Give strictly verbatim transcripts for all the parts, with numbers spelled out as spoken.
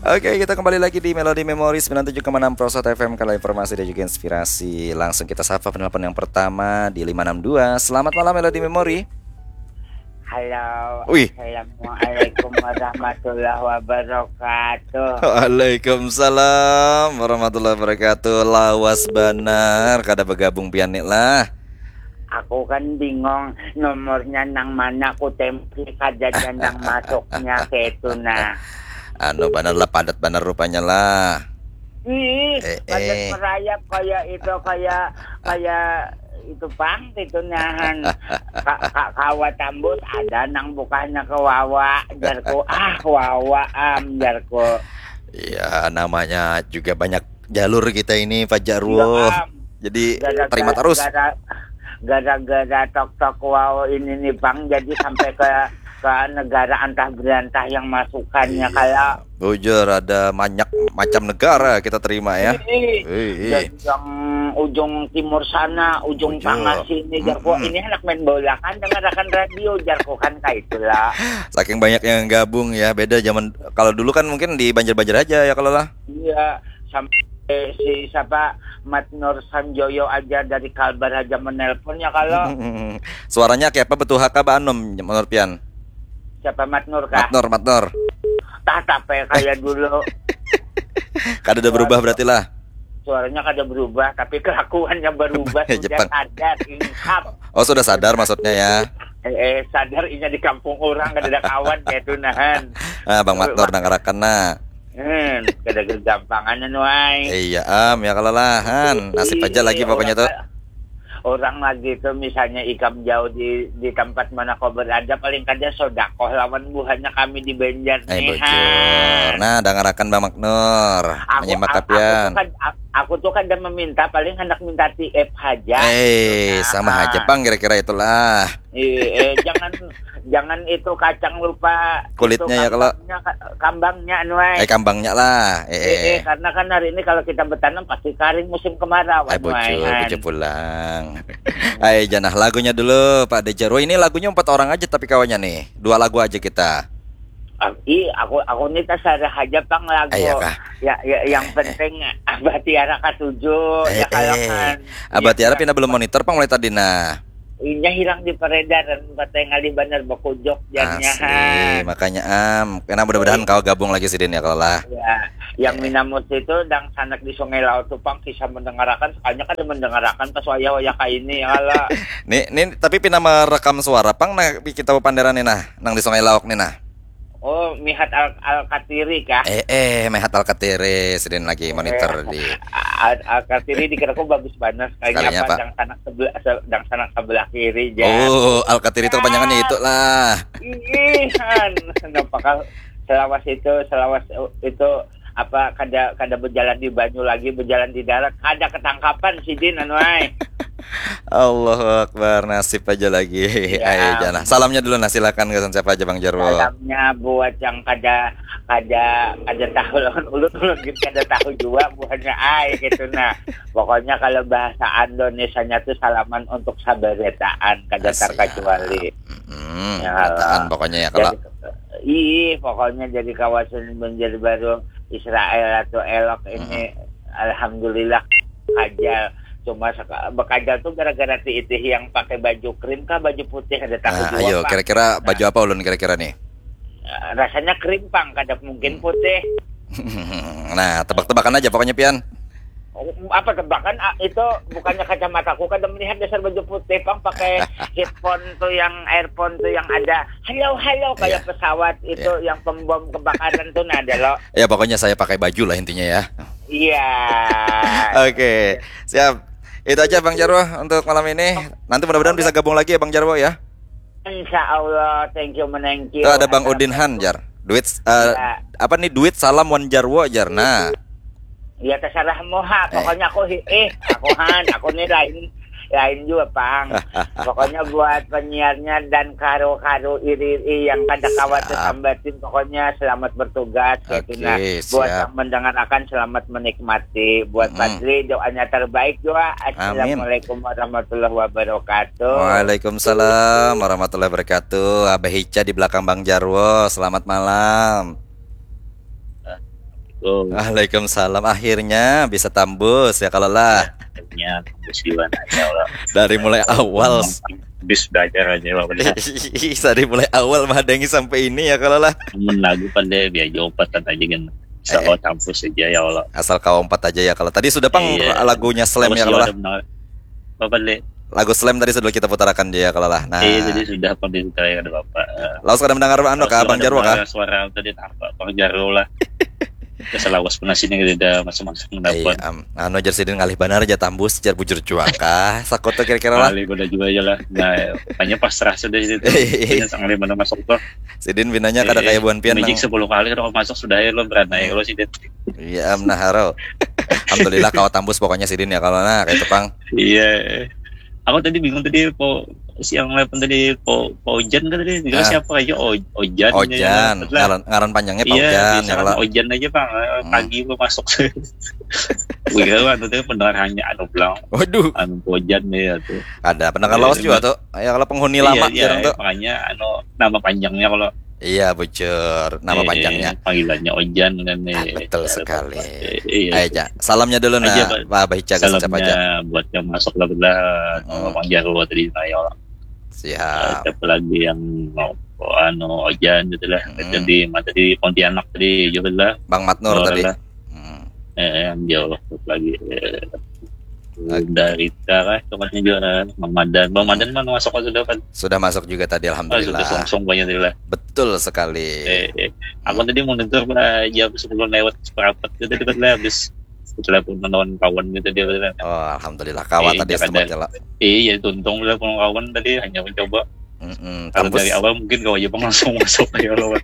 Oke, kita kembali lagi di Melody Memory sembilan tujuh koma enam Prosot F M, kalau informasi dan juga inspirasi. Langsung kita sapa penelpon yang pertama di lima enam dua. Selamat malam, Melody Memory. Halo. Wih. Assalamualaikum warahmatullahi wabarakatuh. Waalaikumsalam warahmatullahi wabarakatuh. Lawas banar kada bergabung pian ni lah. Aku kan bingung nomornya nang mana, ku tempi kada ada nang masuknya, kaitu nah. Anu banar lah, padat banar rupanya lah. Ih, eh, padat eh. Merayap kayak itu, kayak, kayak itu pang, itu nahan. Ka, ka, kawa tambus, ada nang bukahnya ke wawa, jarku. Ah, wawa am, jarku. Iya, namanya juga banyak jalur kita ini, Pak Jarwo. Iya, am. Jadi gara-gara, terima terus. Gara-gara tok-tok wow ini nih, Bang, jadi sampai ke ke negara antah berantah yang masukannya. Iya. Kayak bujur, ada banyak macam negara kita terima ya. Ih, ih. Dari yang ujung timur sana, ujung tengah sini, jarku. Mm-mm. Ini anak main bola kan, dengarkan radio, jarku, kan, kayak itulah. Saking banyak yang gabung ya, beda zaman kalau dulu kan mungkin di Banjar-Banjar aja ya kalau lah. Iya, sampai si siapa, Mat Nur Sanjoyo aja dari Kalbar aja menelpon ya kalau. Suaranya kayak apa, betul haka ba anom menurut pian? Siapa, Mat Nur kah? Mat Nur, Mat Nur. Tah, tape kayak dulu. Kada ada berubah berarti lah. Suaranya kada berubah, tapi kelakuannya berubah. Sudah Jepang. Sadar, ingkap. Oh, sudah sadar maksudnya ya. Eh, eh, sadar inya di kampung orang kada ada kawan kayak itu nahan. Ah, Bang Mat Nur, dangarakan nah. Hmm, kada gegampangan anu ai. Iya am, ya kalalahan. Nasib aja lagi pokoknya tuh. Orang lagi tuh, misalnya ikam jauh di di tempat mana kau berada, paling kada sodakoh lawan buhannya kami di Banjar nih. Bujur. Nah, dangarakan Bang Maknur. Menyimak kapian. Aku tuh kada meminta, paling hendak minta T F haja. Eh, sama haja pang kira-kira itulah. Eh, eh, jangan jangan itu kacang lupa kulitnya itu ya kalau kambangnya, ka- kambangnya anu ai. Eh, kambangnya lah. Eh, eh, eh, eh, karena kan hari ini kalau kita bertanam pasti kering musim kemarau. Eh, anu ai, bujur, han. Bujur pulang. Ayo janah lagunya dulu Pak Dejarwo. Ini lagunya empat orang aja tapi kawannya nih. Dua lagu aja kita. Ah, ih, aku aku ni tasarah aja pang lagu. Ah, iya kah? Ya, ya, yang penting Abah Tiara katuju, eh, ya kalau eh, kan. Abah Tiara pindah belum monitor pang mulai tadi nah. Inya hilang di peredaran, batengali banar bakujok jadinya. Asli, makanya am, kena mudah-mudahan kau gabung lagi sidin ya kalau lah. Ya, yang Minamus itu dang sanak di Sungai Laut tuh pang kisah mendengarakan, sekalinya kada mendengarakan pas wayah-wayah kaini ya kalau. Nih, nih tapi pina merekam suara pang nah kita panderan nih nah, nang di Sungai Laut nih nah. Oh, mihat al alkatiri kah? Eh, eh, mihat alkatiri, sidin lagi monitor di al alkatiri dikiraku bagus banar sekalinya apa dang sanak sebelah dang sanak sebelah kiri ja. Oh, alkatiri itu kepanjangannya itu lah. Iihan, kenapa kah selawas itu, selawas itu apa kada kada berjalan di banyu lagi, berjalan di darat, kada ketangkapan sidin anu ai. Allahu Akbar, nasib aja lagi. Iya. Ayo janah. Salamnya dulu nah, silakan gasan siapa aja Bang Jarwo. Salamnya buat yang kada kada kada tahu lawan ulun, ulun gin kada tahu jua buhannya ai gitu nah. Pokoknya kalau bahasa Indonesianya tuh salaman untuk sabarataan kada terkecuali. Hmm, ya, barataan pokoknya ya kalau. Ih, pokoknya jadi kawasan Banjarbaru Israel atau elok ini, alhamdulillah kajal. Cuma bekajal tuh gara-gara ti itih yang pakai baju krim kah baju putih ada tahu. Nah, ayo kira-kira baju apa ulun kira-kira nih? Rasanya krim pang, kada mungkin putih. Nah, tebak-tebakan aja pokoknya pian. Apa tebakan? Ah, itu bukannya kacamataku kada melihat dasar baju putih pang pakai headphone tuh yang earphone tuh yang ada halo halo kayak pesawat itu yang pembom kebakaran tuh nah ada lo. Ya pokoknya saya pakai baju lah intinya ya. Iya. Oke, siap. Itu aja Bang Jarwo untuk malam ini. Nanti mudah-mudahan bisa gabung lagi ya Bang Jarwo ya. Insya Allah, thank you menanki. Itu ada Bang Udin Han jar. Duit uh, ya. Apa nih duit salam wan Jarwo jar. Nah. Ya terserah moha, pokoknya aku eh aku Han, aku nih lain lain juga pang. Pokoknya buat penyiarnya dan karo-karo iri-iri yang kada kawat sambatin, pokoknya selamat bertugas. Oke, gitu nah. Buat yang mendengarkan selamat menikmati. Buat Fadli doanya terbaik juga. Assalamualaikum warahmatullahi wabarakatuh. Waalaikumsalam warahmatullahi wabarakatuh. Abah Ica di belakang Bang Jarwo. Selamat malam. Waalaikumsalam. Akhirnya bisa tambus ya kalau lah. Akhirnya tambus juga nanya lah. Dari mulai awal. Bis belajar aja lah. Dari mulai awal mahadangi sampai ini ya kalau lah. Mun lagu pandai biar jauh ompatan aja kan. Asal kau tambus aja ya Allah. Asal kau ompat aja ya kalau. Tadi sudah pang iya. Lagunya Slam ya kalau lah. Apa le? Lagu Slam tadi sudah kita putarakan aja ya kalau lah. Nah. Iya, tadi sudah pang kita ya ada bapak. Lalu sudah mendengar anu kah Bang Jarwo kah? Suara tadi apa Bang Jarwo lah. Selawas pun sini kita masuk-masuk mendapat. Iya, um, anu jar sidin ngalih banar aja tambus jar bujur jua kah sakoto kira-kira lah. Ngalih banar juga aja lah. Nah, hanya pasrah sudah situ. Iya. Ngalih banar masuk tuh. Sidin binanya kada kayak buan pian. Magic sepuluh kali kada masuk sudah ya lo beranai lo sidin. Iya, am nah haro. Alhamdulillah kawa tambus pokoknya sidin ya kalau nah kayak tepang. Iya. Aku tadi bingung tadi po siang lepen tadi po Paujan kan tadi juga ah. Siapa aja o, Ojan. Ojan. Ngaran, ngaran panjangnya Paujan iya, ya kalau. Ojan aja bang. Hmm. Pagi lo masuk. Wih, anu tuh pendengar hanya anu bilang. Waduh. Anu Paujan ya tuh. Ada pendengar iya, lawas juga tuh. Ya kalau penghuni iya, lama iya, jarang tuh. Makanya anu nama panjangnya kalau Iya bujur nama eh, panjangnya. Panggilannya Ojan kan nih. Ah, betul ya, sekali. Iya. Ayo, ja. Salamnya dulu nah, Pak Abah Ica salamnya aja. Buat yang masuk lah belah hmm. Bang Jarwo tadi saya orang. Siap. Siapa lagi yang mau oh, anu Ojan gitu lah. Hmm. Jadi mata di Pontianak tadi juga lah. Bang Matnur tadi. Lah. Hmm. Eh, yang jauh lagi. Eh. Dari Tara tempatnya juga Bang Madan. Bang Madan mana masuk sudah kan? Sudah masuk juga tadi alhamdulillah. Oh, sudah langsung banyak tadi lah. Betul sekali. Eh, eh. Aku hmm. Tadi mau nonton jam sepuluh lewat seperempat gitu tadi kan habis telepon kawan-kawan gitu dia kan. Oh, alhamdulillah kawan eh, tadi sempat jalan. Iya, tuntung lah kawan-kawan tadi hanya mencoba. Mm-mm, kalau dari awal mungkin kau aja pang langsung masuk aja lo.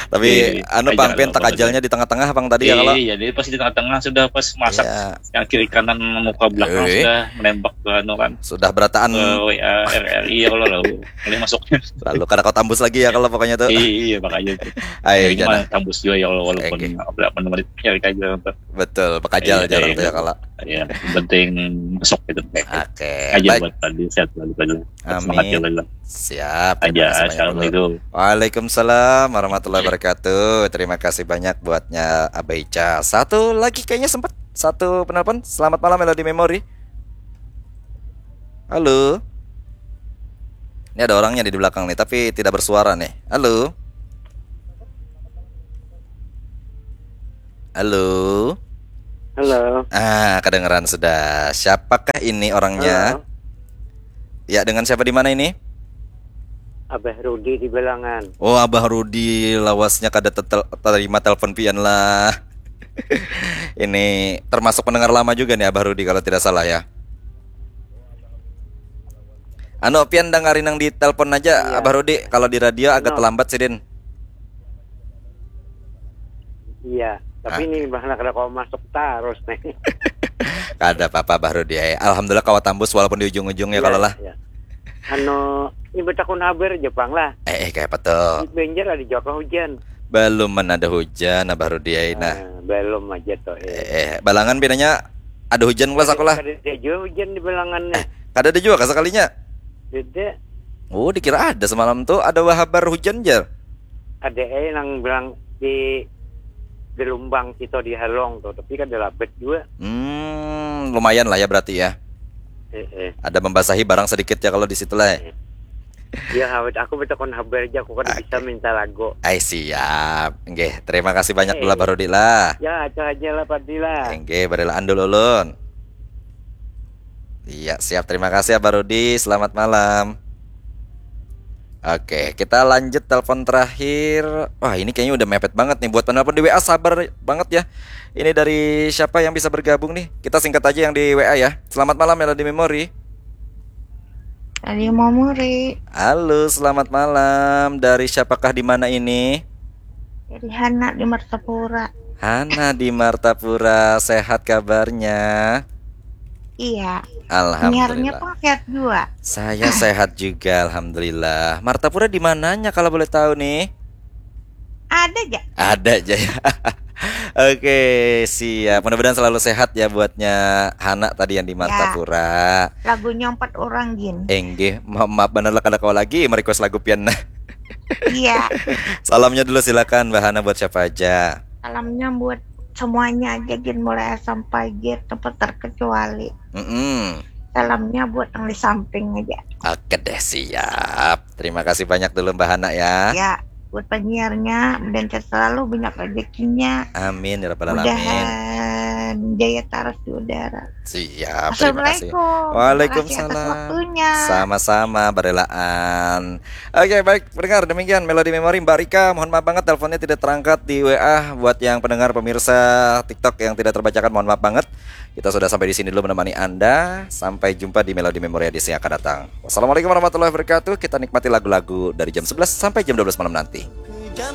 Tapi iya, anu pang pian takajalnya di tengah-tengah pang tadi ya kalau. Iya, jadi pas di tengah-tengah sudah pas masak iya. Yang kiri kanan muka belakang eh. Sudah menembak ke anu kan. Sudah berataan. Ke W A R R I ya kalau lalu. Boleh masuknya. Lalu kada kau tambus lagi ya kalau pokoknya tuh. Iya, iya makanya tuh. Ayo, tambus juga ya kalau walaupun okay. Berapa menit ya kita aja. Betul, pakajal iya, jarang iya, tuh ya kalau. Iya, penting masuk gitu. Oke. Okay. Aja baik. Buat tadi sehat selalu. Amin. Siap. Aja. Assalamualaikum. Waalaikumsalam warahmatullahi wabarakatuh. Terima kasih banyak buatnya Abah Ica. Satu lagi kayaknya sempat satu penelpon. Selamat malam Melody Memory. Halo. Ini ada orangnya di belakang nih, tapi tidak bersuara nih. Halo. Halo. Halo. Ah, kedengeran sudah. Siapakah ini orangnya? Halo. Ya, dengan siapa di mana ini? Abah Rudi di Belangan. Oh, Abah Rudi lawasnya kada terima telepon pian lah. Ini termasuk pendengar lama juga nih Abah Rudi kalau tidak salah ya. Anu pian dangari nang di telepon aja iya. Abah Rudi kalau di radio agak no. Terlambat sidin. Iya, tapi ah. Ini bahkan kada kau masuk terus nih. Kada apa-apa Bah Rudi. Alhamdulillah kawa tambus walaupun di ujung-ujung ya, ya kalau lah. Ya. Anu, ini betakun habar aja pang lah. Eh, eh kayak apa tuh? Di Banjar ada juga hujan. Belum mana ada hujan Abah Rudi ya nah. Nah, belum aja tuh. Eh, eh, eh balangan pinanya ada hujan kelas aku lah. Ada juga hujan di balangannya. Eh, kada ada juga sekalinya. Tidak. Oh, dikira ada semalam tuh ada habar hujan jar. Ada eh nang bilang di gelombang kita di Halong tuh, tapi kan ada labet juga. Hmm, lumayan lah ya berarti ya. Eh, eh. Ada membasahi barang sedikit ya kalau di situ lah. Eh. Ya, awet aku betakon habar aja, aku kan okay. Bisa minta lagu. Ay, siap. Nggih, terima kasih banyak dulu Barudi lah. Ya, aja aja lah Padri lah. Nggih, barilaan dulu ulun. Iya, siap. Terima kasih ya Barudi. Selamat malam. Oke, kita lanjut telepon terakhir. Wah, ini kayaknya udah mepet banget nih buat penelpon di W A sabar banget ya. Ini dari siapa yang bisa bergabung nih? Kita singkat aja yang di W A ya. Selamat malam Melody Memory. Tadi mau muri. Halo, selamat malam. Dari siapakah di mana ini? Dari Hana di Martapura. Hana di Martapura, sehat kabarnya? Iya. Alhamdulillah. Niarnya pun sehat juga. Saya sehat juga, alhamdulillah. Martapura di mananya kalau boleh tahu nih? Ada aja. Ada aja ya. Oke, siap. Mudah-mudahan selalu sehat ya buatnya Hana tadi yang di Martapura. Ya. Lagunya empat orang gin. Enggih, maaf, maaf benar lah kada kau lagi merequest lagu pian nah. Iya. Salamnya dulu silakan Mbak Hana buat siapa aja. Salamnya buat semuanya aja, gin, mulai A sampai Z tanpa terkecuali. Mm-mm. Salamnya buat yang di samping aja. Oke deh, siap. Terima kasih banyak dulu Mbak Hana ya. Ya, buat penyiarnya, mudahan sehat selalu, banyak rezekinya. Amin ya rabbal alamin. Mudahan jaya taras di udara. Siap, terima kasih. Assalamualaikum. Waalaikumsalam. Terima kasih atas waktunya. Sama-sama, barelaan. Oke, baik, pendengar, demikian Melody Memory. Mbak Rika, mohon maaf banget teleponnya tidak terangkat di W A. Buat yang pendengar, pemirsa TikTok yang tidak terbacakan, mohon maaf banget. Kita sudah sampai di sini dulu menemani Anda. Sampai jumpa di Melody Memory edisi yang akan datang. Wassalamualaikum warahmatullahi wabarakatuh. Kita nikmati lagu-lagu dari jam sebelas sampai jam dua belas malam nanti.